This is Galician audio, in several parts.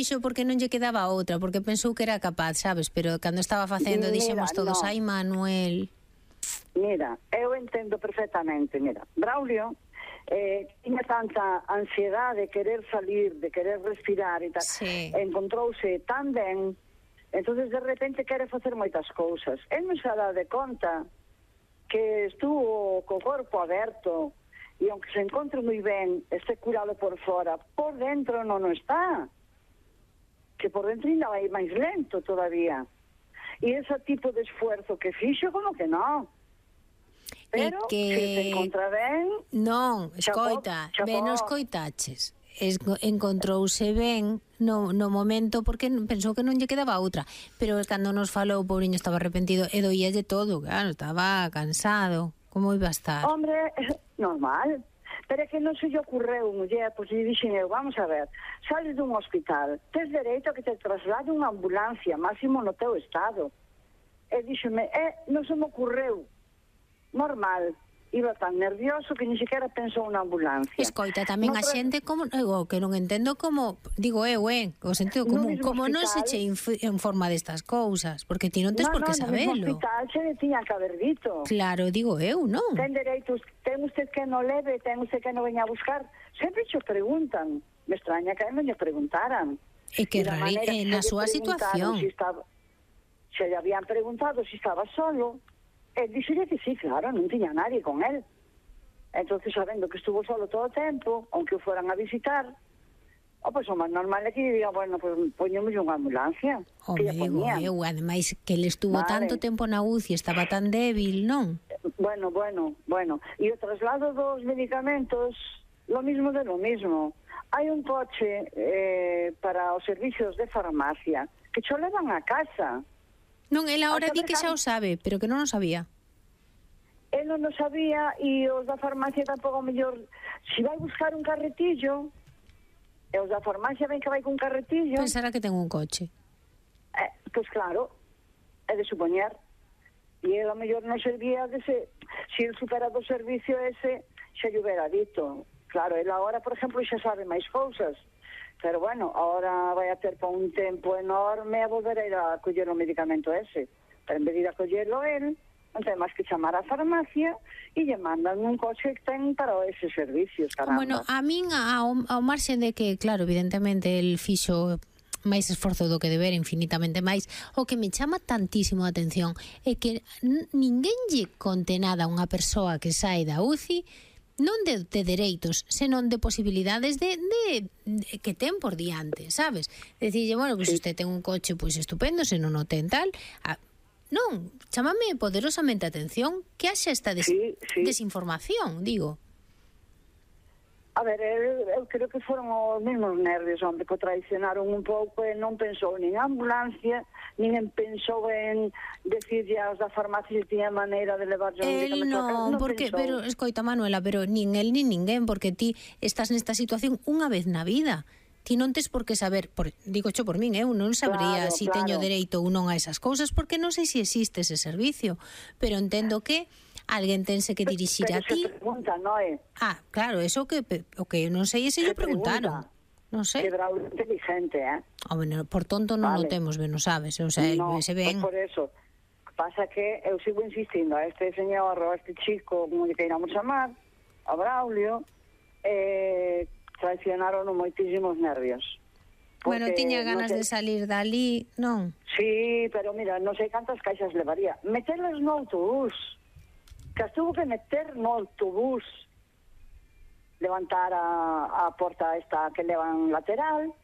fixo porque non lle quedaba outra, porque pensou que era capaz, sabes? Pero cando estaba facendo dixemos todos, ai Manuel. Mira, eu entendo perfectamente, mira, Braulio tiña tanta ansiedade de querer salir, de querer respirar e tal, encontrouse tan ben, entonces de repente quere facer moitas cousas. El non se dá de conta que estuvo co corpo aberto e aunque se encontre moi ben, este curado por fora, por dentro non está, que por dentro ainda vai máis lento todavía. E ese tipo de esfuerzo que fixo, como que non? Pero que se encontra ben... Non, escoita, ben non escoitaches. Encontrouse ben no momento porque pensou que non lle quedaba outra, pero cando nos falou o pobriño estaba arrepentido e doíalle todo, claro, estaba cansado. Como iba a estar? Hombre, normal. Pero é que non se lle ocurreu, muller, pois lle dixen eu, vamos a ver, sales dun hospital, tes dereito a que te traslade unha ambulancia, máximo no teu estado. E díxeme, non se me ocurreu. Normal, iba tan nervioso que ni siquiera pensou na ambulancia. Escoita, tamén a xente como que non entendo como, digo o sentido común, como non se che informa destas cousas, porque ti non tes por que sabelo. No hospital se le tiña que haber dito. Claro, digo eu, non? Ten dereitos, ten usted que no leve, ten usted que no veña a buscar. Sempre che preguntan. Me extraña que non lle preguntaran. E que na súa situación. Se lle habían preguntado si estaba solo. Él dixolle que sí, claro, non tiña nadie con él. Entonces, sabendo que estuvo solo todo o tempo, aunque o fueran a visitar, pois o máis normal é que diga, bueno, pues poñemos unha ambulancia. Que digo eu, ademais que ele estuvo tanto tempo na UCI, estaba tan débil, non? Bueno. E o traslado dos medicamentos, lo mismo de lo mismo. Hai un coche para os servicios de farmacia que cho levan a casa. Non, el agora di que xa o sabe, pero que non o sabía. El non o sabía e os da farmacia tampouco mellor. Si vai buscar un carretillo, e os da farmacia ven que vai con carretillo... Pensará que ten un coche. Pois claro, é de supoñer. E el a mellor non servía dese... Si el supera do servicio ese, xa lle hubiera dito. Claro, el agora, por exemplo, xa sabe máis cousas. Pero bueno, ahora vai a ter para un tempo enorme a volver a ir a coller o medicamento ese. Pero en vez de ir a collerlo él, non ten máis que chamar á farmacia e lle mandan un coche que ten para eses servicios, caramba. Bueno, a min, ao marxen de que, claro, evidentemente, el fixo máis esforzo do que deber, infinitamente máis, o que me chama tantísimo a atención é que ninguén lle conte nada a unha persoa que sae da UCI non de dereitos, senón de posibilidades de que ten por diante, sabes? Decirlle, bueno, pois usted ten un coche pois estupendo, se non o ten tal, non, chámame poderosamente a atención que haxa esta desinformación, digo. A ver, eu creo que foron os mesmos nervios, hombre, que o traicionaron un pouco e non pensou nin ambulancia, nin pensou en decirlle aos da farmacia se tiña maneira de levarlle un medicamento a casa. Non, porque, pero, escoita, Manuela, pero nin el nin ninguén, porque ti estás nesta situación unha vez na vida. Ti non tes por que saber, digo xo por min, eu non sabría si teño dereito ou non a esas cousas, porque non sei se existe ese servicio, pero entendo que alguén tense que dirixir a ti. Pero se pregunta, non é? Claro, eso o que non sei, ese lle preguntaron. Non sei. Que Braulio é inteligente, Bueno, por tonto non o temos, ben, non sabes, o sea, se ven. Por eso. Pasa que eu sigo insistindo a este señor, a este chico, como lle queiramos chamar, a Braulio, traicionaron moitísimos nervios. Bueno, tiña ganas de salir dali, non? Sí, pero mira, non sei cantas caixas levaría. Meterlas no autobús. Que as tuvo que meter no autobús, levantar a porta esta que levan lateral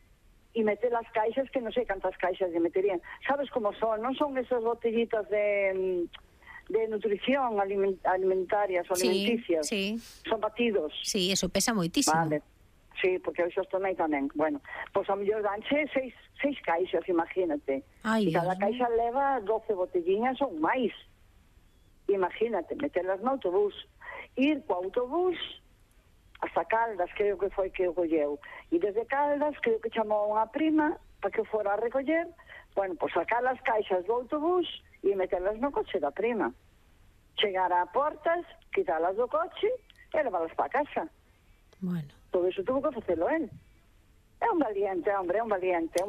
e meter as caixas, que non sei cantas caixas lle meterían. Sabes como son? Non son esas botellitas de nutrición alimentarias ou alimenticias. Sí. Son batidos. Sí, eso pesa moitísimo. Vale. Sí, porque eu xa tomei tamén. Bueno, pois a mellor danche seis caixas, imagínate. E cada caixa leva 12 botelliñas ou máis. Imagínate, meterlas no autobús, ir co autobús hasta Caldas, creo que foi que o colleu, e desde Caldas creo que chamou a unha prima para que fora a recoller, bueno, pois sacar as caixas do autobús e meterlas no coche da prima, chegar a portas, quitalas do coche e levalas para casa. Bueno, todo iso tuvo que facelo él. É un valiente, hombre, é un valiente.